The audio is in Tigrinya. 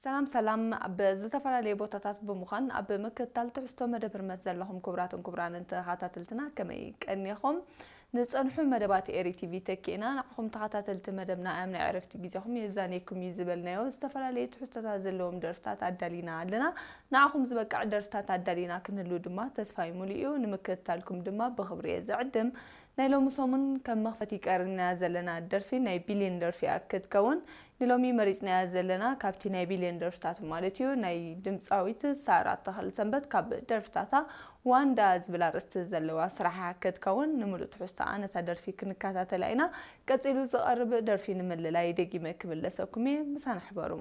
ሰላም ሰላም፣ ኣብ ዝተፈላለየ ቦታታት ብምዃን ኣብ ምክትታል ትሕዝቶ መደብ ህርመት ዘለኹም ክቡራትን ክቡራንን ተኸታተልትና ከመይ ቀኒኹም? ንጸንሑ መደባት ኤሪ ቲቪ ተኪእና ንዓኹም ተኸታተልቲ መደብና ኣያም ናይ ዕረፍቲ ግዜኹም የዛንየኩም እዩ ዝበልናዮ ዝተፈላለየ ትሕዝቶታት ዘለዎም ደርፍታት ኣዳሊና ኣለና። ንዓኹም ዝበቅዕ ደርፍታት ኣዳሊና ክንህሉ ድማ ተስፋይ ሙሉእ እዩ። ንምክትታልኩም ድማ ብኽብሪ እየ ዝዕድም። ናይ ሎሚ ሰሙን ከም መኽፈቲ ቀሪብናያ ዘለና ደርፊ ናይ ቢልዮን ደርፊ እያ ክትከውን። ንሎሚ መሪጽናያ ዘለና ካብቲ ናይ ቢልዮን ደርፍታት ማለት እዩ ናይ ድምጻዊት ሳራ ተኽለሰንበት ካብ ደርፍታታ ዋንዳ ዝብል ኣርእስቲ ዘለዋ ስራሓ ክትከውን። ንምሉእ ትሕዝቶኣ ነታ ደርፊ ክንከታተላ ኢና። ቀጺሉ ዝቐርብ ደርፊ ንምልላይ ደጊመ ክምለሰኩም እየ። ምሳና ሕበሩ።